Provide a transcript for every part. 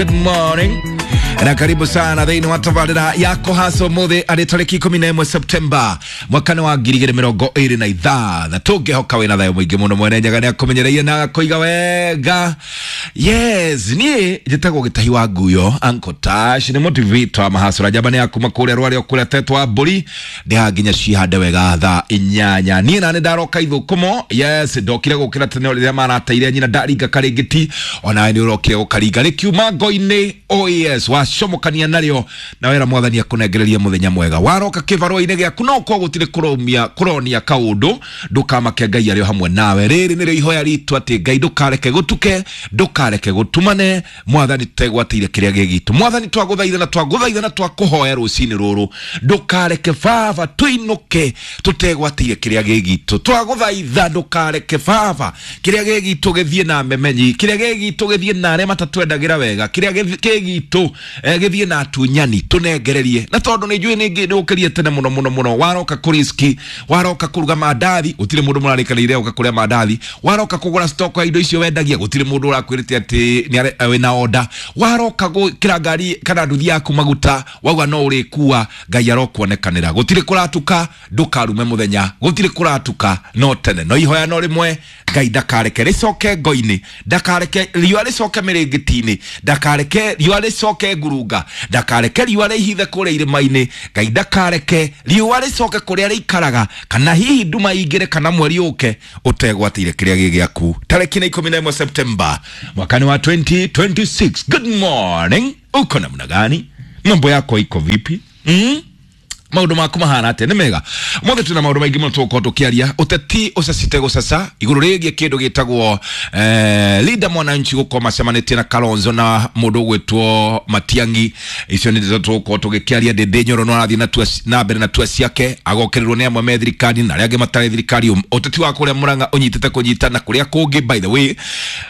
Good morning na karibu sana thĩinĩ wa tabarĩra ya kũhaca ũmũthĩ arĩ tarĩki 11 Septemba mwaka-inĩ wa 2026. Ngĩhoka wĩna thayũ mũingĩ mũno. Mwene Nyaga nĩ akũmenyereire na agakũiga wega. Yes, niĩ njĩtagwo Gĩtahi wa Nguyo, Uncle Tash nĩ motivator wa mahacũra njamba nĩ akuma kũrĩa rwarĩ o kũrĩa tetwa wa mbũri ndĩhaga nginya cihande wega thaa 8. Niĩ nani ndaroka ithũkũmo. Yes, ndokire gũkĩra tene rĩrĩa marateire nyina ndaringa karĩngĩti, onawe nĩ ũrokire gũkaringa rĩkiuma ngo-inĩ. Oh yes, wacomokania narĩo na wera mwathani akũnengereria mũthenya mwega. Waroka kĩbarũa-inĩ gĩaku no ũkorwo gũtirĩ kũromia kũronia kaũndũ, ndũkamake, Ngai arĩ o hamwe nawe. Rĩrĩ nĩrĩo ihoya ritũ atĩ Ngai ndũkareke gũtuke, ndũkareke gũtumane, mwathani tũtegwatĩire kĩrĩa gĩ gitũ. Mwathani twagũthaitha na twagũthaitha na twakũhoya rũcinĩ rũrũ, ndũkareke baba tũinũke tũtegwatĩire kĩrĩa gĩ gitũ. Twagũthaitha ndũkareke baba kĩrĩa gĩ gitũ gĩthiĩ na memenyi, kĩrĩa gĩ gitũ gĩthiĩ na arĩa matatwendagĩra wega, kĩrĩa gĩ gitũ gĩthiĩ na atunyani, tũnengererie. Na tondũ nĩ njũĩ nĩ ũkĩrie tene mũno mũno mũno, waroka kũriski, waroka kũruga mandathi, gũtirĩ mũndũ mũrarĩkanĩire ũka kũrĩa mandathi. Waroka kũgũra stock ya indo icio wendagia, gũtirĩ mũndũ ũrakwĩrĩte atĩ nĩ wĩna order. Waroka gwĩkĩra ngari kana nduthi yaku maguta, wauga no ũrĩkua, Ngai arokuonekanĩra. Gũtirĩ kũratuka, ndũkarume mũthenya, gũtirĩ kũratuka, no tene no ihoya no rĩmwe, Ngai ndakareke rĩcoke ngo-inĩ, ndakareke riũa rĩcoke mĩrĩngĩti-inĩ, ndakareke riũa rĩcoke ngurunga, ndakareke riũa rĩhithe kũrĩa irĩma-inĩ. Ngai ndakareke riũa rĩcoke kũrĩa rĩikaraga, kana hihi nduma ingĩre kana mweri ũke ũtegwatĩire kĩrĩa gĩ gĩaku. Tarĩki nĩ 11 Septemba mwaka-inĩ wa 2026. Good morning, uko namna gani? Mambo yako iko vipi? Maundu maku mahana atia? Nĩ mega. Mothe twĩna maundu maingĩ mũno tũgũkorwo tũkĩaria. Ũteti ũcacite gũcaca igũrũ rĩgiĩ kĩndũ gĩtagwo Linda Mwananchi gũkorwo macemanĩtie na Kalonzo na mũndũ ũgwĩtwo Matiang'i. Icio nĩ ndeto tũgũkorwo tũgĩkĩaria. Ndĩndĩ Nyoro no arathiĩ na mbere na tua ciake, agokĩrĩrwo nĩ amwe me thirikari na arĩa angĩ matarĩ thirikari. Ũteti wa kũrĩa Murang'a ũnyitĩte kũnyita na kũrĩa kũngĩ, by the way,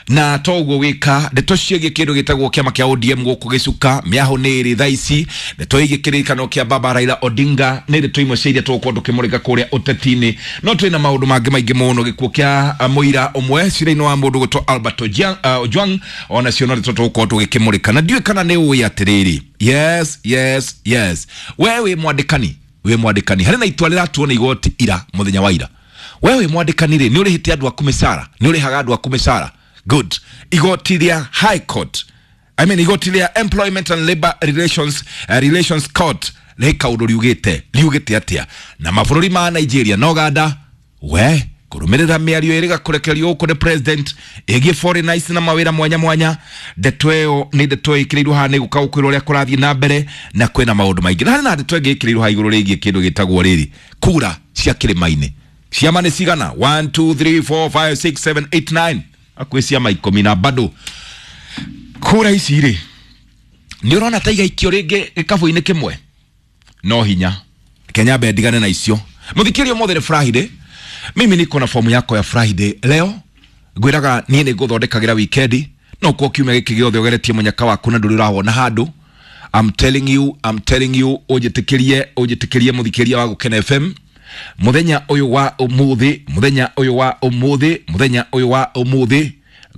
na to ũguo wĩka ndeto ciĩgiĩ kĩndũ gĩtagwo kĩama kĩa ODM gũkũ gĩcuka mĩahũ nĩ ĩrĩ thaa ici. Ndeto ĩgiĩ kĩririkano kĩa baba Raila Odinga nĩ ndeto imwe cia iria tũgũkorwo tũkĩmũrĩka kũrĩa ũteti-inĩ. No twĩna maũndũ mangĩ maingĩ mũno, gĩkuũ kĩa mũira ũmwe cira-inĩ wa mũndũ gwĩtwo Albert Ojwang, onacio no ndeto tũgũkorwo tũgĩkĩmũrĩka. Na ndiũĩ kana nĩ ũĩ atĩrĩrĩ, yes yes yes, we wĩ mwandĩkani, wĩ mwandĩkani, harĩ na itua rĩratuo nĩ igoti ira, mũthenya wa ira. We wĩ mwandĩkani rĩ, nĩ ũrĩhĩte andũ aku mĩcara? Nĩ ũrĩhaga andũ aku mĩcara? Good. Igoti rĩa High Court, I mean igoti rĩa Employment and Labor Relations Court rĩ kaũndũ riugĩte. Riugĩte atĩa? Na mabũrũri ma Nigeria na Uganda we kũrũmĩrĩra mĩario ĩrĩga kũrekererio gũkũ nĩ president ĩgiĩ foreigners na mawĩra mwanya mwanya. Ndeto ĩyo nĩ ndeto ĩkĩrĩirwo haha, nĩ gũka gũkwĩrwo ũrĩa kũrathiĩ na mbere, na kwĩna maũndũ maingĩ. Na harĩ na ndeto ĩngĩ ĩkĩrĩirwo haha igũrũ rĩgiĩ kĩndũ gĩtagwo rĩrĩ kura cia kĩrĩma-inĩ. Ciama nĩ cigana? 1 2 3 4 5 6 7 8 9, hakuhĩ ciama 10, na bado kura ici rĩ, nĩ ũrona ta igaikio rĩngĩ gĩkabũ-inĩ kĩmwe? No hinya Kenya mbe ndigane na icio. Mũthikĩrio, ũmũthĩ nĩ Friday. Mimi niko na fomu yako ya Friday leo. Ngwĩraga niĩ nĩ ngũthondekagĩra wikendi, no kwa kiumia gĩkĩ gĩothe ũgeretie mũnyaka waku na ndũrĩ ũrawona handũ. I'm telling you, I'm telling you, ũnjĩtĩkĩrie, ũnjĩtĩkĩrie, mũthikĩria wa Gũkena FM, mũthenya ũyũ wa ũmũthĩ, mũthenya ũyũ wa ũmũthĩ, mũthenya ũyũ wa ũmũthĩ,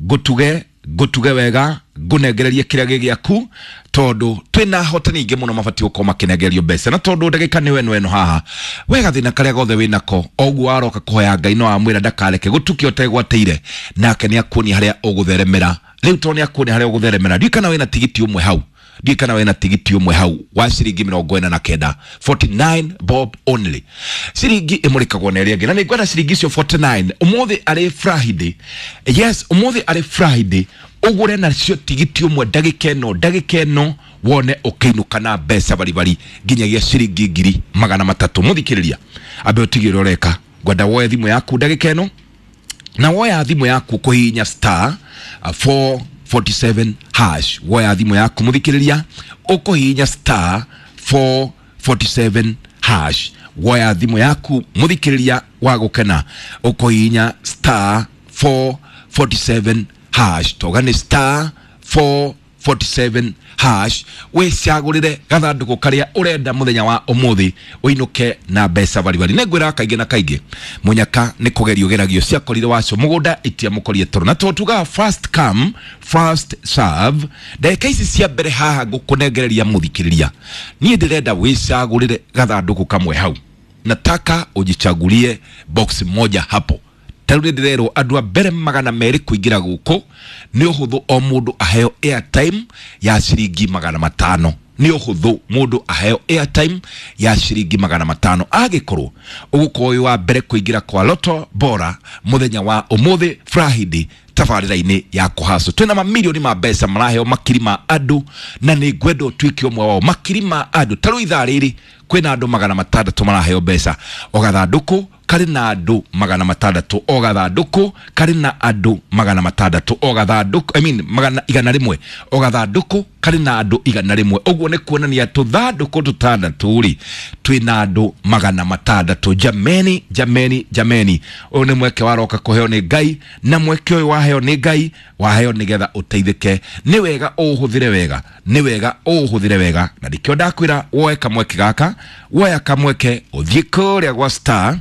ngũtuge, ngũtuge wega, ngũnengererie kĩrĩa gĩ gĩaku, tondũ twĩna ahotani aingĩ mũno mabatiĩ gũkorwo makĩnengererio mbeca. Na tondũ ndagĩka nĩ weno ĩno haha, we gathĩna karĩa gothe wĩnako, o ũguo waroka kũhoya Ngai no amwĩra ndakareke gũtuke ũtegwatĩire, nake nĩ akuonia harĩa ũgũtheremera. Rĩu tondũ nĩ akuonia harĩa ũgũtheremera, ndiũĩ kana wĩna tigiti ũmwe hau, ndiũĩ kana wĩna tigiti ũmwe hau wa ciringi 49, 49 bob only. Ciringi ĩmũrĩkagwo na ĩrĩa ĩngĩ, na nĩ ngwenda ciringi icio 49 ũmũthĩ arĩ Friday. Yes, ũmũthĩ arĩ Friday, ũgũre nacio tigiti ũmwe ndagĩka ĩno, ndagĩka ĩno, wone ũkĩinũka na mbeca baribari nginyagia ciringi 300,000. Mũthikĩrĩria, ambe ũtige ũrĩa ũreka, ngwenda woe thimũ yaku ndagĩka ĩno, na woya thimũ yaku kũhihinya star 447 hash. Woya thimũ yaku, mũthikĩrĩria, ũkũhihinya star 447 hash. Woya thimũ yaku, mũthikĩrĩria wa Gũkena, ũkũhihinya star 447 hash. Toga nĩ star. 447 hash wicagurire gathanduku karia urenda muthenya wa umuthi uinuke na mbeca baribari. Nĩngwĩraga kaingĩ na kaingĩ munyaka nĩ kũgerio geragio ciakorire wacio mũgũnda itiamũkorire toro, na tondũ tugaga first come first serve, ndagĩka ici cia mbere haha ngũkũnengereria mũthikĩrĩria, niĩ ndĩrenda wicagũrĩre gathandũkũ kamwe hau, nataka ujichagulie box moja hapo. Tarĩu nĩndĩrerwo andũ a mbere 200 kũingĩra gũkũ nĩ ũhũthũ o mũndũ aheo airtime ya ciringi 500. Nĩ ũhũthũ mũndũ aheo airtime ya ciringi 500 angĩkorwo ũgũkorwo wĩ wa mbere kũingĩra kwa Lotto Bora mũthenya wa ũmũthĩ Friday tabarĩra-inĩ ya kũhaco. Twĩna mamirioni ma mbeca maraheo makiri ma andũ, na nĩ ngwenda ũtuĩke ũmwe wao. Makiri ma andũ tarĩu ithaa rĩrĩ kwĩna andũ 600 maraheo mbeca, o gathandũkũ karĩ na andũ 600, o gathandũkũ karĩ na andũ 600, o gathandũkũ, I mean 101, o gathandũkũ karĩ na andũ 101. Ũguo nĩ kuonania tũthandũkũ tũtandatũ rĩ twĩna andũ 600. Jameni, jameni, jameni, ũyũ nĩ mweke waroka kũheo nĩ Ngai, na mweke ũyũ waheo nĩ Ngai waheo nĩgetha ũteithĩke. Nĩ wega ũũhũthĩre wega, nĩ wega ũũhũthĩre wega, na nĩkĩo ndakwĩra woe kamweke gaka, woya kamweke ũthiĩ kũrĩa gwa star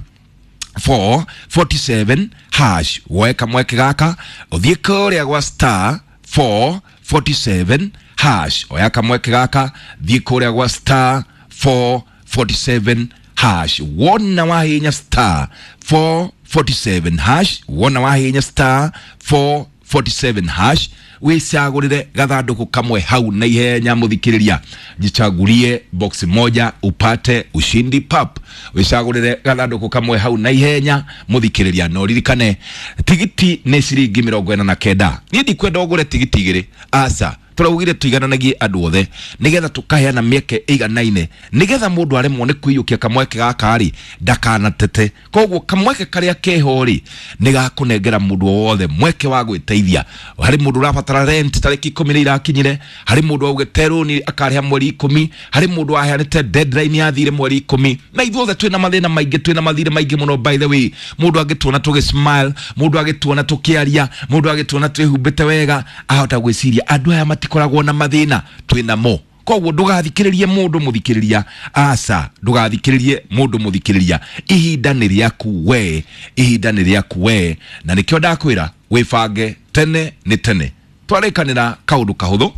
447 hash, woe kamweke gaka ũthiĩ kũrĩa gwa star 447 hash, oya kamweke gaka thiĩ kũrĩa gwa star 447 hash. Wona wahinya star 447 hash, wona wahinya star 447 hash, wicagũrĩre gathandũkũ kamwe hau na ihenya mũthikĩrĩria, jichagulie box moja upate ushindi pap. Wicagũrĩre gathandũkũ kamwe hau na ihenya mũthikĩrĩria, no ririkane tigiti nĩ ciringi 49. Niĩ ndikwenda ũgũre tigiti igĩrĩ, aca, tũraugire tũigananagie andũ othe nĩgetha tũkaheana mĩeke ĩiganaine, nĩgetha mũndũ aremwo nĩ kũiyũkia kamweke gaka rĩ ndakanatete. Koguo kamweke karĩa keho rĩ nĩ gakũnengera mũndũ o wothe mweke wa gwĩteithia. Harĩ mũndũ ũrabatara rent tarĩki 10 nĩ irakinyire, harĩ mũndũ augĩte rũni akarĩha mweri 10, harĩ mũndũ waheanĩte deadline yathire mweri 10. Na ithuothe twĩna mathĩna maingĩ, twĩna mathirĩ maingĩ mũno by the way. Mũndũ angĩtuona tũgĩ smile, mũndũ angĩtuona tũkĩaria, mũndũ angĩtuona twĩhumbĩte wega, ahota gwĩciria andũ aya matikoragwo na mathĩna, twĩna mo. Koguo ndũgathikĩrĩrie mũndũ mũthikĩrĩria, aca, ndũgathikĩrĩrie mũndũ mũthikĩrĩria, ihinda nĩ rĩaku we, ihinda nĩ rĩaku we, na nĩkĩo ndakwĩra wĩbange tene nĩ tene. Twarĩkanĩra kaũndũ kahũthũ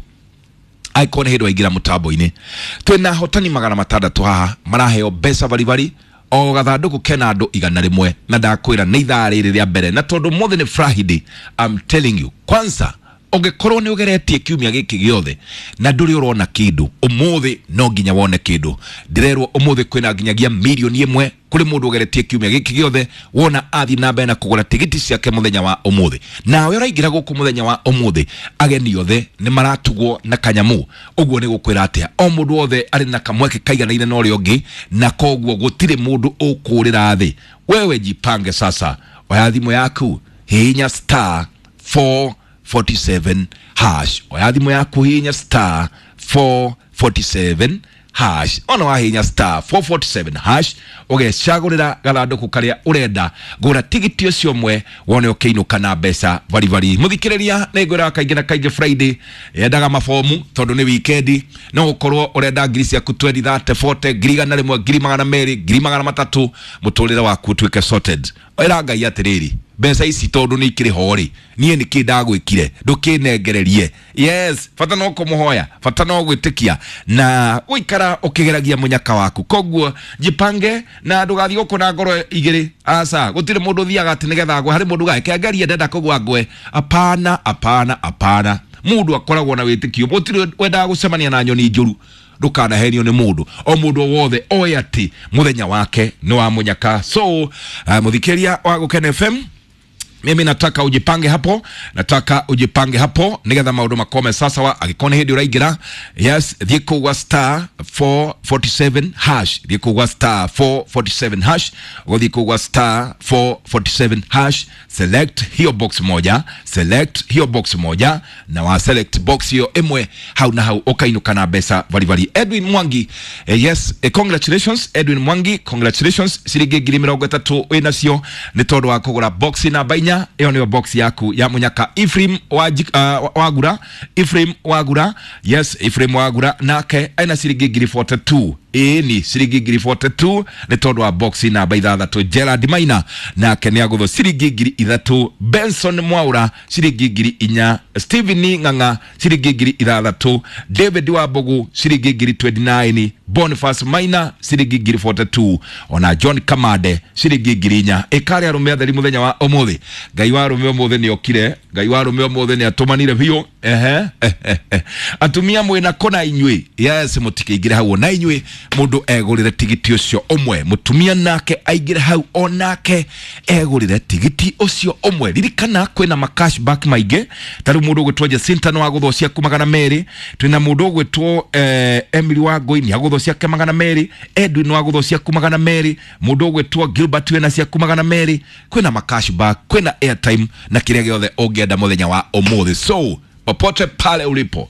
angĩkorwo nĩ hĩndĩ waingĩra mũtambo-inĩ, twĩna ahotani 600 haha maraheo mbeca baribari, o gathandũkũ kena andũ 101, na ndakwĩra nĩ ithaa rĩrĩ rĩa mbere, na tondũ ũmũthĩ nĩ Friday, I'm telling you, kwanza ũngĩkorwo nĩ ũgeretie kiumia gĩkĩ gĩothe na ndũrĩ ũrona kĩndũ, ũmũthĩ no nginya wone kĩndũ. Ndĩrerwo ũmũthĩ kwĩna nginyagia 1 million kũrĩ mũndũ ũgeretie kiumia gĩkĩ gĩothe, wona athiĩ na mbere na kũgũra tigiti ciake mũthenya wa ũmũthĩ. Nawe ũraingĩra gũkũ mũthenya wa ũmũthĩ, ageni othe nĩ maratugwo na kanyamu. Ũguo nĩ gũkwĩra atĩa, o mũndũ wothe arĩ na kamweke kaiganaine na ũrĩa ũngĩ, na koguo gũtirĩ mũndũ ũkũrĩra thĩ. Wewe jipange sasa, oya thimũ yaku, hihinya star 447 hash, oya thimũ yaku, hihinya star 447 hash. Ona wahihinya star 447 hash ũgecagũrĩra gathandũkũ karĩa ũrenda, gũra tigiti ũcio ũmwe wone ũkĩinũka na mbeca baribari. Mũthikĩrĩria, nĩ ngwĩraga kaingĩ na kaingĩ Friday yendaga mabomu tondũ nĩ wikendi, no ũkorwo ũrenda ngiri ciaku 20 30 40 ngiri 100 ngiri 200 ngiri 300, mũtũrĩre waku ũtuĩke sorted. Ĩra Ngai atĩrĩrĩ, mbeca ici tondũ nĩ ikĩrĩ ho rĩ, niĩ nĩkĩ ndagwĩkire ndũkĩnengererie. Yes, bata no kũmũhoya, bata no gwĩtĩkia na gũikara ũkĩgeragia mũnyaka waku. Koguo jipange na ndũgathiĩ gũkũ na ngoro igĩrĩ, aca, gũtirĩ mũndũ ũthiaga atĩ nĩgetha agwe. Harĩ mũndũ ugaga ngerie ndenda kũgwa ngwe, apana, apana, apana. Mũndũ akoragwo na wĩtĩkio, gũtirĩ wendaga gũcemania na nyoni njũru, ndũkanahenio nĩ mũndũ o mũndũ o wothe oe atĩ mũthenya wake nĩ wa mũnyaka. So mũthikĩria wa Gũkena FM, mimi nataka ujipange hapo, nataka ujipange hapo nigetha maundu makome sasa wa angĩkorwo nĩ hĩndĩ ũraingĩra. Yes, thiĩ kũu gwa star 447 hash, thiĩ kũu gwa star 447 hash, ũgũthiĩ kũu gwa star 447 hash, select hiyo box moja, select hiyo box moja, na wa select box hiyo ĩmwe hau na hau ũkainũka na mbeca baribari. Edwin Mwangi, yes, congratulations Edwin Mwangi, congratulations, ciringi 30,000 wĩnacio nĩ tondũ wa kũgũra box namba 4. Inya ĩyo nĩyo box yaku ya munyaka. Ephraim Wagura, Ephraim Wagura, yes, Ephraim Wagura nake ena ciringi ngiri 42. Ĩni ciringi ngiri 42 nĩ tondũ wa box namba ithathatũ. Gerard Maina nake nĩ agũthwo ciringi ngiri ithatũ. Benson Mwaura ciringi ngiri inya. Stephen Ng'ang'a ciringi ngiri ithathatũ. David Wambugu ciringi ngiri 29. Boniface Maina ciringi ngiri 42. Ona John Kamande ciringi ngiri inya. Ĩkarĩ arũme atheri mũthenya wa ũmũthĩ. Ngai wa arũme ũmũthĩ nĩ okire, Ngai wa arũme ũmũthĩ nĩ atũmanire biũ. Ehe, atumia mwĩna kũna inyuĩ, yes, mũtikĩingĩre hau ona inyuĩ mũndũ egũrĩre tigiti ũcio ũmwe, mũtumia nake aingĩre hau onake egũrĩre tigiti ũcio ũmwe. Ririkana kwĩna ma cashback maingĩ, ta rĩu mũndũ ũgwĩtwo Jacinta nĩ wagũthwo ciaku magana merĩ, twĩna mũndũ ũgwĩtwo Emily Wangũi nĩ agũthwo ciake magana merĩ, Edwin wagũthwo ciaku magana merĩ, mũndũ ũgwĩtwo Gilbert wĩna ciaku magana merĩ. Kwĩna ma cashback, kwĩna airtime na kĩrĩa gĩothe ũngĩenda mũthenya wa ũmũthĩ. So popote pale ulipo,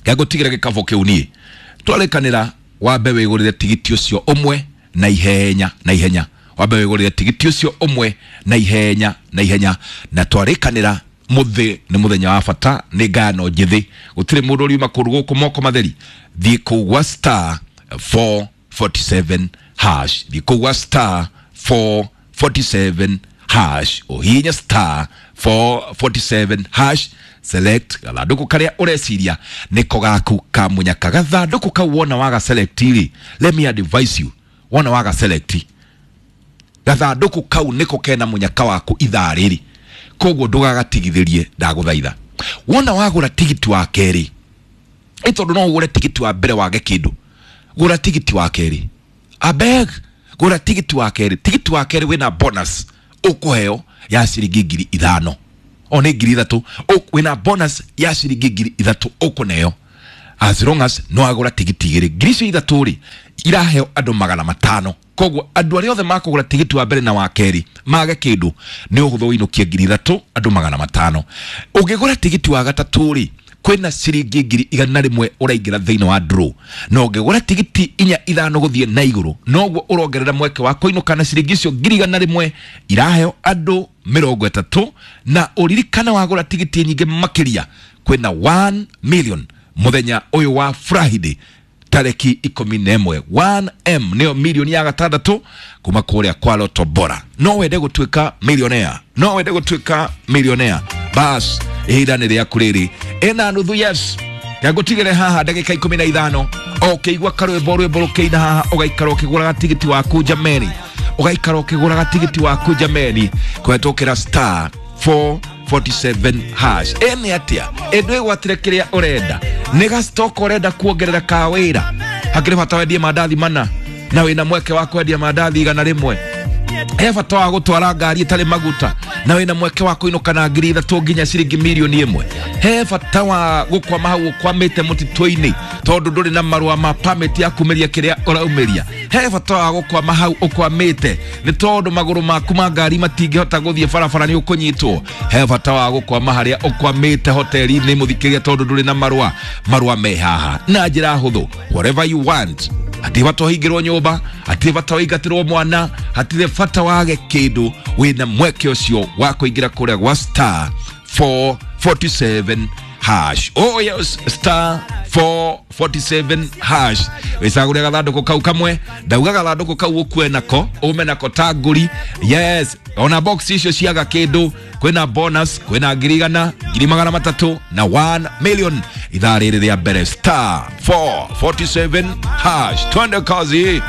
ngagũtigĩra gĩkabũ kĩu niĩ twarĩkanĩra, wambe wĩgũrĩre tigiti ũcio ũmwe na ihenya na ihenya, wambe wĩgũrĩre tigiti ũcio ũmwe na ihenya na ihenya. Na twarĩkanĩra mũthĩ nĩ mũthenya wa bata, nĩ ngano njĩthĩ, gũtirĩ mũndũ ũriuma kũndũ gũkũ moko matheri. Thiĩ kũu gwa star 447 hash, thiĩ kũu gwa star 447 hash, ũhihinye star 447 hash, select gathandũkũ karĩa ũreciria nĩko gaku ka mũnyaka. Gathandũkũ kau wona waga select rĩ, let me advise you, wona waga select gathandũkũ kau nĩko kena mũnyaka waku ithaa rĩrĩ, koguo ndũgagatigithĩrie, ndagũthaitha. Wona wagũra tigiti wa kerĩ, ĩ tondũ no ũgũre tigiti wa mbere wage kĩndũ, gũra tigiti wa kerĩ, abeg, gũra tigiti wa kerĩ. Tigiti wa kerĩ wĩna bonus ũkũheo ya ciringi ngiri ithano, o nĩ ngiri ithatũ, wĩna bonus ya ciringi ngiri ithatũ ũkũneo as long as no agũra tigiti igĩrĩ. Ngiri icio ithatũ rĩ iraheo andũ magana matano, koguo andũ arĩa othe makũgũra tigiti wa mbere na wa kerĩ mage kĩndũ nĩ ũhũthũ ũinũkie ngiri ithatũ andũ magana matano. Ũngĩgũra tigiti wa gatatũ rĩ, kwĩna ciringi ngiri igana rĩmwe ũraingĩra thĩinĩ wa draw, na ũngĩgũra tigiti inya ithano gũthiĩ na igũrũ noguo ũrongerera mweke wa kũinũka na ciringi icio ngiri igana rĩmwe iraheo andũ mĩrongo ĩtatũ. Na ũririkane wagũra tigiti nyingĩ makĩria kwĩna 1 million mũthenya ũyũ wa Friday tareki 11. 1M nĩyo milioni ya gatandatũ kuma kũrĩa kwa Lotto Bora. No wende gũtuĩka millionaire, no wende gũtuĩka millionaire, bas ihinda nĩ rĩaku rĩrĩ ĩna nuthu. Yes, ngagũtigĩre haha ndagĩka 15, o ũkĩigua karwĩmbo rwĩmbo rũkĩina haha, ũgaikara ũkĩgũraga tigiti waku jameni, ũgaikara ũkĩgũraga tigiti waku jameni, kũhetũkĩra star 447 hash. Ĩ nĩ atĩa ĩndũ ĩgwatire kĩrĩa ũrenda, nĩ gastock ũrenda kuongerera ka wĩra, hakĩrĩ bata wendie mandathi mana na wĩna mweke wa kwendia mandathi igana rĩmwe, he bata wa gũtwara ngari ĩtarĩ maguta na wĩna mweke wa kũinũka na ngiri ithatũ nginya ciringi mirioni ĩmwe, he bata wa gũkwama hau ũkwamĩte mũtitũ-inĩ tondũ ndũrĩ na marũa ma permit ya kumĩria kĩrĩa ũraumĩria, he bata wa gũkwama hau ũkwamĩte nĩ tondũ magũrũ maku ma ngari matingĩhota gũthiĩ barabara nĩ ũkũnyitwo, he bata wa gũkwama harĩa ũkwamĩte hoteli-inĩ mũthikĩria tondũ ndũrĩ na marũa, marũa me haha na njĩra hũthũ. Whatever you want, hatirĩ bata ũhingĩrwo nyũmba, hatirĩ bata ũingatĩrwo mwana, hatirĩ bata wage kĩndũ, wĩna mweke ũcio wa kũingĩra kũrĩa gwa star 447 hash. Oh yes, star 447 hash. Wĩcagũre gathandũkũ kau kamwe, ndauga gathandũkũ kau ũkue nako, ume nako ta ngũri. Yes, ona box icio ciaga kĩndũ, kwĩna bonus, kwĩna ngiri igana, ngiri magana matatũ na 1 million ithaa rĩrĩ rĩa mbere, star 447 hash. Twende kazi.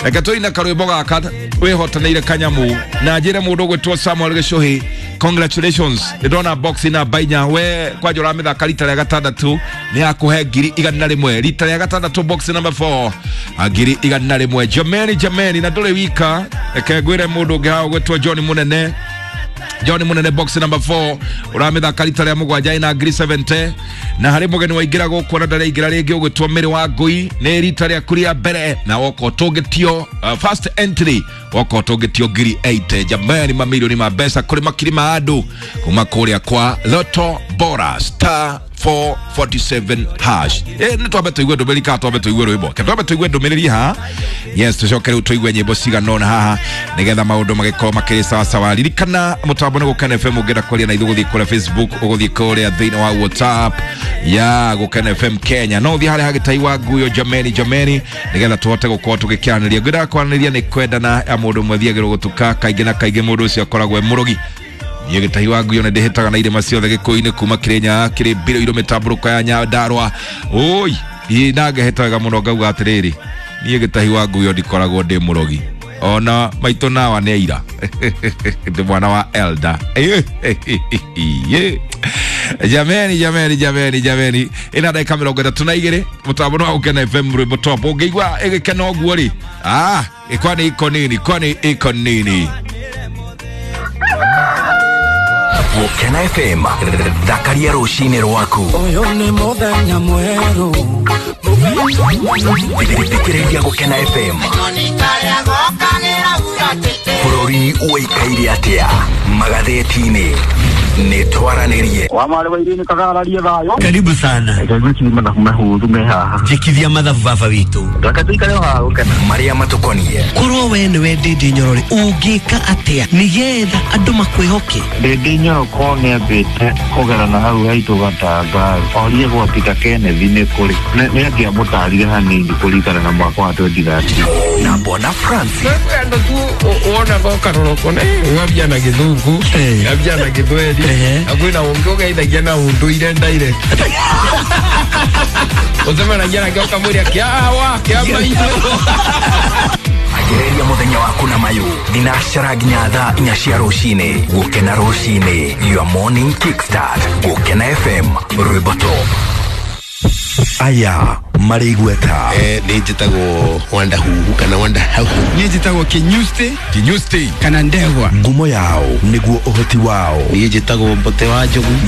Reke tũine karwĩmbo gaka wĩhotanĩire kanyamu, na njĩre mũndũ ũgwĩtwo Samuel Gĩcũhĩ, congratulations, nĩ ndona box namba inya, we kwanja ũramĩthaka rita rĩa gatandatũ nĩ yakũhe ngiri igana rĩmwe, rita rĩa gatandatũ box number 4 ngiri igana rĩmwe. Jameni, jameni, na ndũrĩ wika, reke ngwĩre mũndũ ũngĩ haha ũgwĩtwo John Munene, John Munene box number 4 ũramĩthaka rita rĩa mũgwanja ĩna ngiri 70. Na harĩ mũgeni waingĩra gũkũ na ndaraingĩra rĩngĩ ũgwĩtwo Mĩrĩ wa Ngũi, nĩ rita rĩaku rĩa mbere na woka ũtũngĩtio first entry, woka ũtũngĩtio ngiri 80. Jamani, mamilioni ma mbeca kũrĩ makiri ma andũ kuma kũrĩa kwa Lotto Bora, star 447 hash. Nĩ twambe tũigue ndũmĩrĩri kana twambe tũigue rwĩmbo? Ke twambe tũigue ndũmĩrĩri haha. Yes, tũcoke rĩu tũigue nyĩmbo cigana ũna haha nĩgetha maũndũ magĩkorwo makĩrĩ sawasawa. Ririkana mũtambo nĩ Gũkena FM. Ũngĩenda kwaria na ithuĩ, ũgũthiĩ kũrĩa Facebook, ũgũthiĩ kũrĩa thĩinĩ wa WhatsApp ya Gũkena FM Kenya, no ũthiĩ harĩa hagĩtai wa nguyo jameni jameni, nĩgetha tũhote gũkorwo tũgĩkĩaranĩria. Ngwĩndaga kwaranĩria nĩ kwendana ya mũndũ ũmwe thiagĩrwo gũtuka kaingĩ na kaingĩ, mũndũ ũcio akoragwo e mũrogi. Niĩ gĩtahi wa nguyo nĩ ndĩhĩtaga na irĩma ciothe gĩkũyũ-inĩ, kuma Kĩrĩnyaga, kĩrĩ mbiro irũ, mĩtambũrũko ya Nyandarũa. Ũi ĩ na ngehĩta wega mũno ngauga atĩrĩrĩ, niĩ gĩtahi wa nguyo ndikoragwo ndĩ mũrogi, ona maitũ nawa nĩ aira ndĩ mwana wa elda. Jameni jameni jameni jameni, ĩna ndagĩka 32, mũtambo nĩ wa Gũkena FM, rwĩmbo top. Ũngĩigua ĩgĩkena ũguo rĩ, ah, kwani iko nini? Kwani iko nini? Gũkena FM, thakaria rũcinĩ rwaku. Ũyũ nĩ mũthenya mwerũ. Thikĩrĩria Gũkena FM. Bũrũri ũikaire atĩa magathĩti-inĩ? Nĩ twaranĩrie. Wa marĩ wa irini kagararie thayũ. Karibu sana. Reke mathabu mahũthũ me haha. Njĩkithia mathabu baba witũ. Reke tũikare o haha gũkena. Marĩa matũkonie. Korwo we nĩwe Ndĩndĩ Nyorore, ũngĩka atĩa nĩgetha andũ makwĩhoke? Ndĩndĩ Nyoroko nĩambĩte kũgerana hau haitũ gatanga orie gwa Peter Kenneth nĩ kũrĩ nĩ angĩamũtarire hanini kũringana na mwaka wa 2013. Na Bwana Francis. Andå tu wonaga ũkarora ũkona ng'ambia na gĩthũngũ, ng'ambia na gĩthweri, na kwĩna ũngĩ ũgeithagia na ũndũire direct, ũcemanagia nake ũkamwĩra kĩawa kĩa maitũ. Anjĩrĩria mũthenya waku na mayũ thinacara nginya thaa 4 cia rũcinĩ. Gũkena rũcinĩ, your morning kickstart. Gũkena FM, rwĩmbo top. Aya marĩ igweta. Nĩ njĩtagwo Wanda Huhu kana Wanda Hau. Niĩ njĩtagwo Kĩnyusti. Kinyusti. Kana Ndegwa. Ngumo yao nĩguo ũhoti wao. Niĩ njĩtagwo Mbote wa Njogu.